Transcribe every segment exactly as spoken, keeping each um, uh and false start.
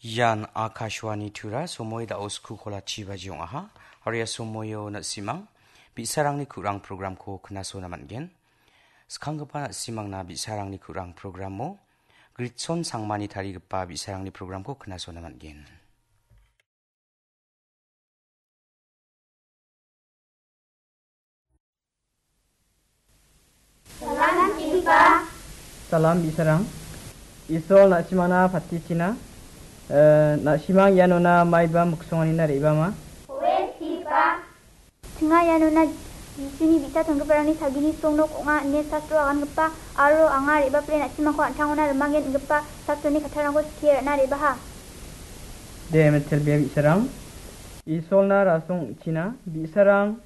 Ian Akashvani Tura, somoi da·o sku kolachi baji ong·aha. Aro ia somoio na·simang bi·sarangni ku·rang programko knasona man·gen. Skanggipa na·simangna bi·sarangni ku·rang programo Gritson Sangmani tarigipa bi·sarangni programko knasona man·gen. Salam, Ipa. Salam, bi·sarang. Isol na·simangna patichina. Eh, na·simang ianona maiba miksonganina re·bama? Oe, Ipa. Chinga ianona Jisuni bi·sa chongiparangni sagini song nok ong·a ine sastro agangipa aro anga re·bapre na·simangko an·tangona rimangen ingipa sastroni kattarangko skie ra·na re·baha. De, metel bia bi·sarang. Isolna rasong ong·china. Bi·sarang,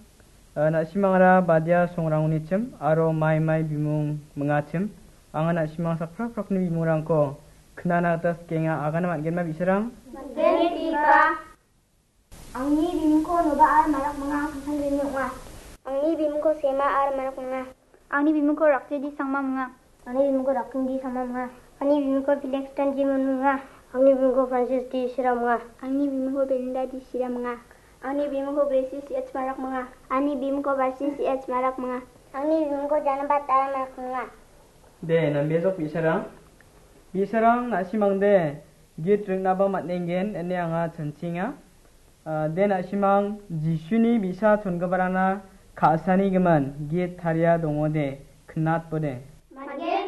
eh, na·simangara badia songrangonichim aro mai mai bimung mingachim. Anga na·simang sakprak prakni bimungrangko knana gita sikenga, agana man·genma bi·sarang? Man·gen, Ipa. Angni bimingko Noba ar Marak manga, Kangsan Rimi ong·a. Angni bimingko Sema ar Marak manga. Angni bimingko Rakjedi Sangma manga. Angni bimingko Rakjedi Sangma manga. Angni bimingko Felix Tanji Manu manga. Angni bimingko Francis D Sira manga. Angni bimingko Belinda D Sira manga. Angni bimingko Gracie C H Marak manga. Angni bimingko Barsi C H Marak manga. Angni bimingko Janabat ar Marak manga. De, nambejok bi·sarang. Bi·sarang na·simangde git ringnaba man·engen ine anga chanchienga. Ah, de na·simang Jisuni bi·sa chongiparangna ka·sani gimin git taria dongode, knatbode.